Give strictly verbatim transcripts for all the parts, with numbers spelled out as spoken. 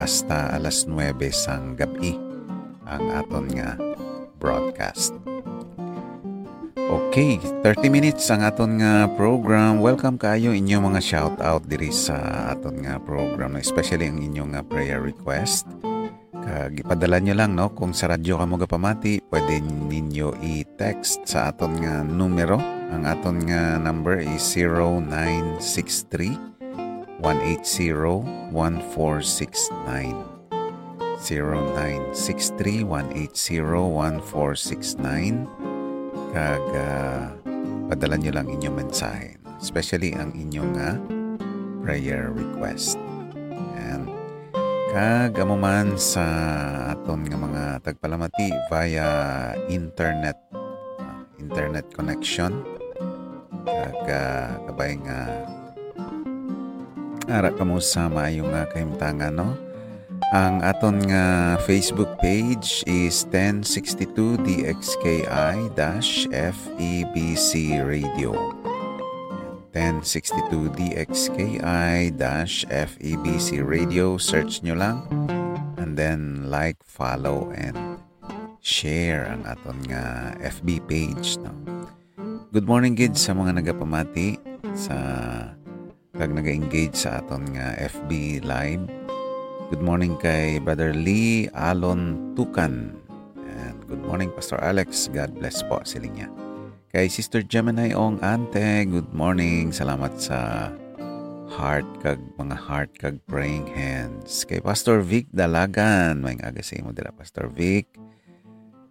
hasta alas nuebe sang gab-i ang aton nga broadcast. Okay, thirty minutes ang aton nga program. Welcome kaayo inyo mga shout out diri sa aton nga program, especially ang inyo nga prayer request. Kag ipadala nyo lang, no? Kung sa radyo kamo gapamati, pwede ninyo i-text sa aton nga numero. Ang aton nga number is zero nine six three, one eight zero, one four six nine. Zero nine six three, one eight zero, one four six nine. Kag, ah, padala nyo lang inyong mensahe, especially ang inyong, ah, prayer request. Yan. Kag amo man sa aton nga mga tagpalamati via internet, ah, internet connection. Kag, ah, kabay nga ara kamo sa maayo nga kahimtangan, no? Ang aton nga Facebook page is ten sixty-two D X K I dash F E B C Radio. Ten sixty-two D X K I dash F E B C Radio. Search nyo lang. And then like, follow, and share ang aton nga F B page, no? Good morning gid sa mga nagapamati sa kag naga-engage sa aton nga F B Live. Good morning kay Brother Lee Alon Tukan. And good morning, Pastor Alex. God bless po, siling niya. Kay Sister Gemini Ong Ante, good morning. Salamat sa heart kag mga heart kag praying hands. Kay Pastor Vic Dalagan, may aga sa imo dira, Pastor Vic.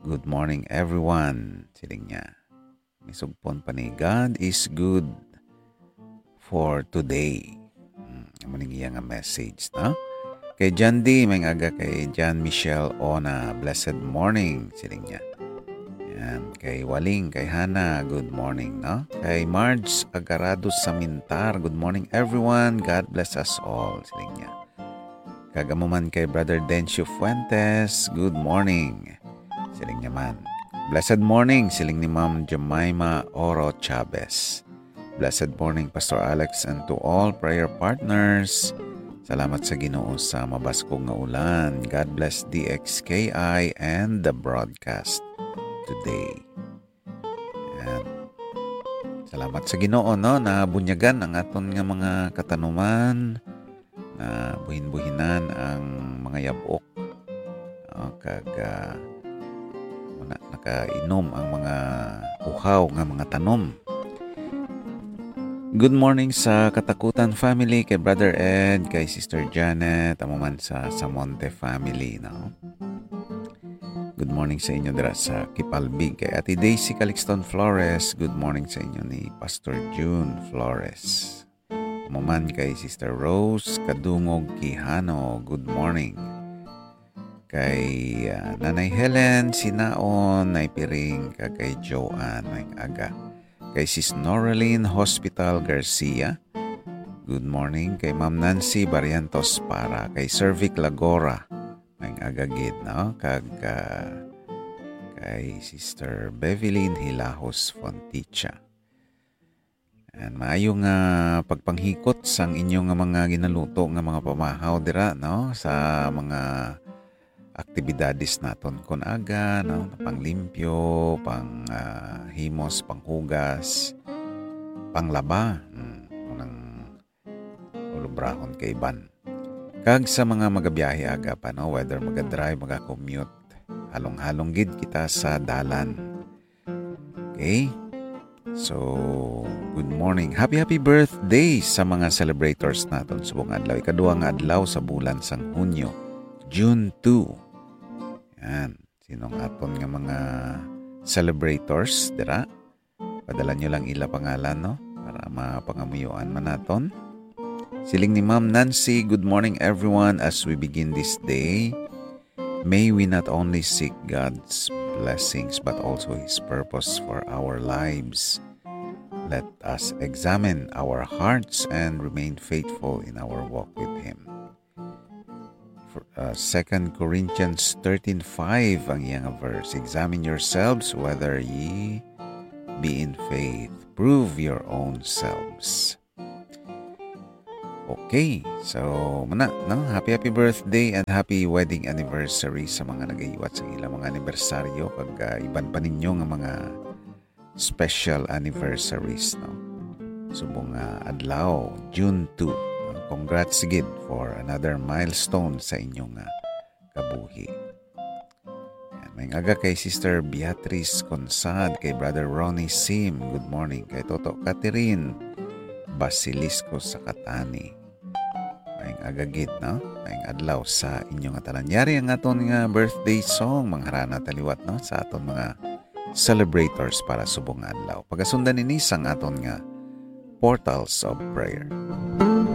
Good morning, everyone, siling niya. May sugpon pa ni, "God is good for today." Hmm, amo ning iya nga message, no? Kay John D, may aga kay John Michelle Ona, "Blessed morning," siling niya. Yan. Kay Waling, kay Hana, "Good morning," no? Kay Marge Agarado Samintar, "Good morning, everyone. God bless us all," siling niya. Kag amo man kay Brother Dencio Fuentes, "Good morning," siling niya man. "Blessed morning," siling ni Ma'am Jemima Oro Chavez. "Blessed morning, Pastor Alex, and to all prayer partners. Salamat sa Ginoo sa mabaskog nga ulan. God bless D X K I and the broadcast today." Yan. Salamat sa Ginoo, no? Nabunyagan ang aton nga mga katanuman, nabuhin-buhinan ang mga yab-ok. O, kag, ah, muna, nakainom ang mga uhaw nga mga tanom. Good morning sa Katakutan family, kay Brother Ed, kay Sister Janet, amo man sa Samonte family, no? Good morning sa inyo dira sa Kipalbig, kay Ate Daisy Calixton Flores. Good morning sa inyo ni Pastor June Flores. Amo man kay Sister Rose Kadungog Quijano, good morning. Kay, ah, Nanay Helen Sinaon, Nay Piring, kag kay Joanne, may aga. Kay Sis Noraline Hospital Garcia, good morning. Kay Ma'am Nancy Barrientos Para, kay Sir Vic Lagora, may aga gid, no? Kag, ah, kay Sister Bevelyn Hilahos Fonticha. And maayo nga pagpanghikot sang inyo nga mga ginaluto nga mga pamahaw dira, no, sa mga aktibidades naton kun aga, no, panglimpyo, pang, ah, himos, panghugas, panglaba, mm, unang ulubrahon kay iban. Kag sa mga magabiyahe aga pa, no, whether magadrive, magakommute, halong-halong gid kita sa dalan. Okay? So, good morning. Happy, happy birthday sa mga celebrators naton subong adlaw. Ikaduha nga adlaw sa bulan sang Hunyo, June two. Yan. Sinong aton nga mga celebrators dira? Padala nyo lang ila pangalan, no? Para mapangamuyoan man naton. Siling ni Ma'am Nancy, "Good morning, everyone. As we begin this day, may we not only seek God's blessings, but also His purpose for our lives. Let us examine our hearts and remain faithful in our walk with Him." For, uh, Second Corinthians thirteen five ang iyang verse, "Examine yourselves whether ye be in faith. Prove your own selves." Okay, so muna, no? Happy, happy birthday and happy wedding anniversary sa mga nagahiwat sa ilang mga anibersaryo, kag, ah, iban pa ninyo nga mga special anniversaries, no? Subong nga adlaw, June two, no? Congrats gid for another milestone sa inyong, ah, kabuhi. Yan, may aga kay Sister Beatrice Consad, kay Brother Ronnie Sim. Good morning. Kay Toto Catherine Basilisco sa Catani. May aga gid, no? May adlaw sa inyo nga tanan. Yari ang aton nga birthday song, mga harana taliwat, no? Sa aton mga celebrators para subong nga adlaw. Pagasundan ini sang aton nga Portals of Prayer.